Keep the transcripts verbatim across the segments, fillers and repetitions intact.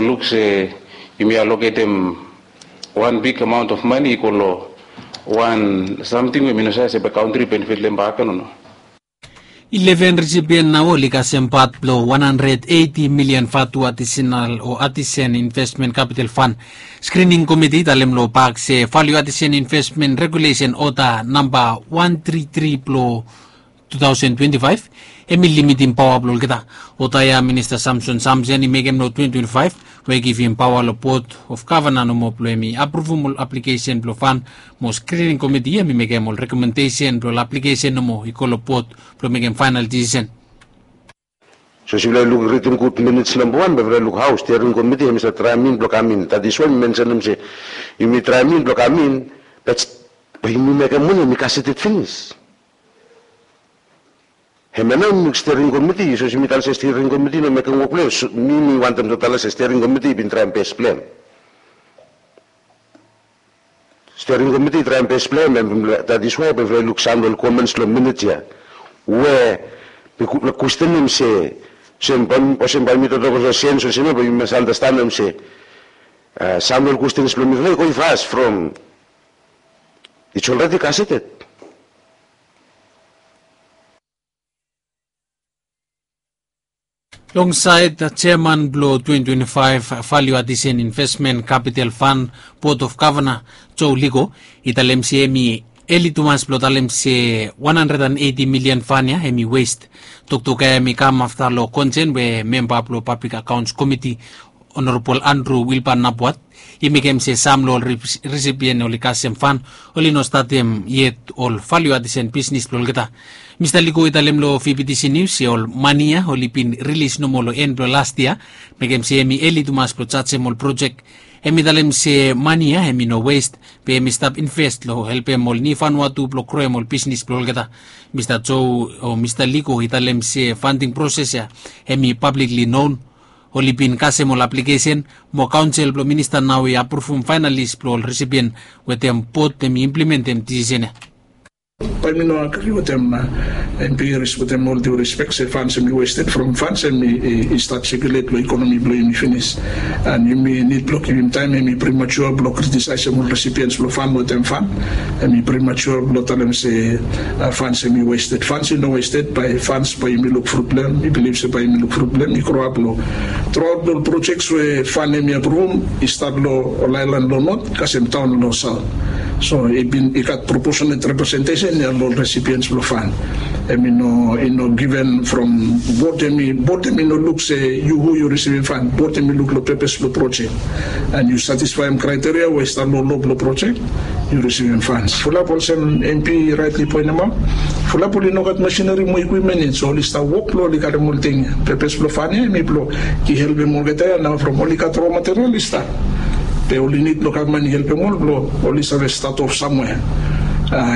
Luk se yumi aloketem wan big amount of money i go long wan samting we mi no save se bae country benefit long hem bakegen o no. Eleven recipient nao oli kasem pat blong wan handred eiti milian vatu artisanal o artisan investment capital fund. Screening committee i talem long bak se value artisan investment regulation order namba wan tri tri blong two thousand twenty-five, hem i limitim paoa blong olgeta. Order ya Minista Samson Samson i mekem long twenty twenty-five, we i givim paoa long Board of Governor nomo blong hem i apruvum ol aplikesen blong fund. Mo screening committee hem i mekem ol rekomendesen blong ol aplikesen nomo i go long board blong mekem faenal disisen. So yufala i luk ritim gud minits namba wan, bae yufala i luk hao steering committee hem i save traem in blong kam in. That is why mi mensenem se yumi traem in blong kam in, bat bae yumi mekem wanem, yumi kaseted finis. Hemia nao yumi luk steering committee, sapos yumi talem se steering committee i no mekem wok blong hem, mi mi wantem tu talem se steering committee i bin traem bes blong hem. Steering committee i traem bes blong hem, and that is why bae yufala i luk sam long ol comments long minit ya, we mi kwesten hem se, olsem bae mi toktok olsem sens olsem ya, bae yumi mas andastanem se sam long ol kwestens blong mifala i go i fas from it's already kaseted. Longsaed jeaman blong twenty twenty-five Value Addition Investment Capital Fund Board of Governor, Joe Liko, i talem se hem i eli tumas blong talem se wan handred and eiti milian fan ya hem i west. Toktok ya hem i kam afta long konsen we memba blong Public Accounts Committee, Honorable Andrew Wilbur Napuat, i mekem se sam long ol risipien oli kasem fan oli no statem yet ol value addition bisnis blong olgeta. Mista Liko i talem long V B T C News se ol mani ya oli bin rilis nomo long en blong last yia, mekem se hem i eli tumas blong jajem ol projek. Hem i talem se mani ya hem i no west, be hem i stap invest long helpem ol Niu Vanuatu blong groem ol bisnis blong olgeta. Mista Joe o Mista Liko i talem se fanting proses ya hem i publicly known. Oli bin kasem ol aplikesen mo kaonsel blong minista nao i apruvum faenalis blong ol risipien wetem bot hem i implimentem disisen ya. Bae mi no agri wetem MP Harris, wetem ol due respect se fans hem i wested from fans hem i stat sikulet long ikonomi blong yumi finis. And yumi nid blong givim taem, hem i primature blong kritisaesem ol risipiens blong fan wetem fan. Hem i primature blong talem se fans hem i wested. Fans i no wested bae fans bae yumi luk frut blong hem. Mi bilif se bae yumi luk frut blong hem. I groap long truaot long ol projeks we fan hem i apruvum i stat long ol aelan long not kasem taon long saot. So i bin i gat proportionate representesen ya long ol risipiens blong fan. Hem i no i no given from bot hem i bot hem i no luk se yu hu yu risivim fan. Bot hem i luk long pepes blong projek. And yu satisfaem kraiteria we i stap long lo blong projek, yu risivim fans. Fulap olsem MP raetli poenemaot, fulap oli no gat masineri mo ekwipmen yet, so oli stap wok blong oli karem ol ting ya. Pepes blong fan ya hem i blong i helpem olgeta ya nao from oli gat ro material i stap. Be oli nid blong gavman i helpem ol blong oli save stat of samwea.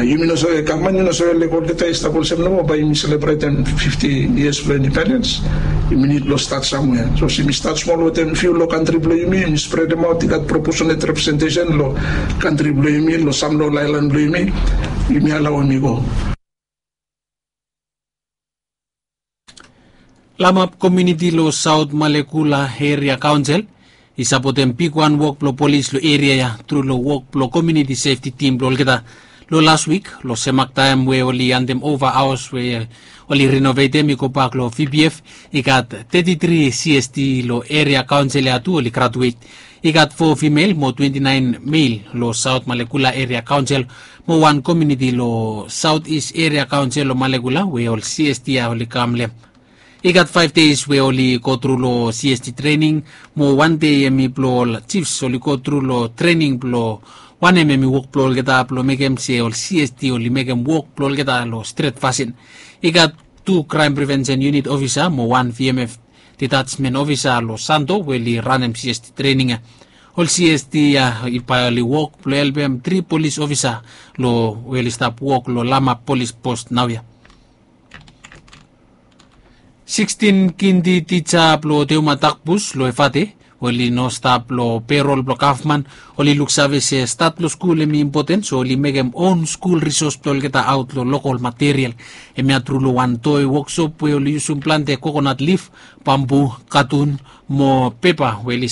Yumi no save gavman i no save lego olgeta i stap olsem nomo bae yumi selebretem fifti yias blong indipendens. Yumi nid blong stat samwea. Sapos yumi stat smol wetem fiu long kantri blong yumi, yumi spredemaot i gat proportionate representesen long kantri blong yumi, long sam long ol aelan blong yumi, yumi alaoem i go. Lamap komuniti long Saot Malekula Eria Kaonsel i sapotem bigwan wok blong polis long eria ya tru long wok blong komuniti sefti tim blong olgeta. Long las wik long semak taem we oli antem ova aos we oli renovetem i gobak long V P F, i gat teti tri C S T long eria kaonsel ya tu oli gratuet. I gat fo fimel mo twenti naen mel long Saot Malekula Eria Kaonsel mo wan komuniti long Saot Is Eria Kaonsel long Malekula we ol C S T ya oli kam long hem. I gat faef deis we oli gotru long C S T trening mo wan dei hem i blong ol jifs oli gotru long trening blong wanem hem i wok blong olgeta blong mekem se ol C S T oli mekem wok blong olgeta long stret fasin. I gat tu kraem prevensen yunit ofisa mo wan V M F detatsmen ofisa long Santo we oli ranem C S T trening ya. Ol C S T ya i bae oli wok blong helpem tri polis ofisa long we oli stap wok long Lamap polis pos naoia. Sikstin kindi tija blong Teuma Takbus long Efate oli no stap long perol blong gavman. Oli luksave se stat blong skul hem i impoten, so oli mekem own skul risos blong olgeta aot long lokol material. Hemia tru long wan toi woksop we oli yusum plante kokonat lif, bambu, katun mo pepa we oli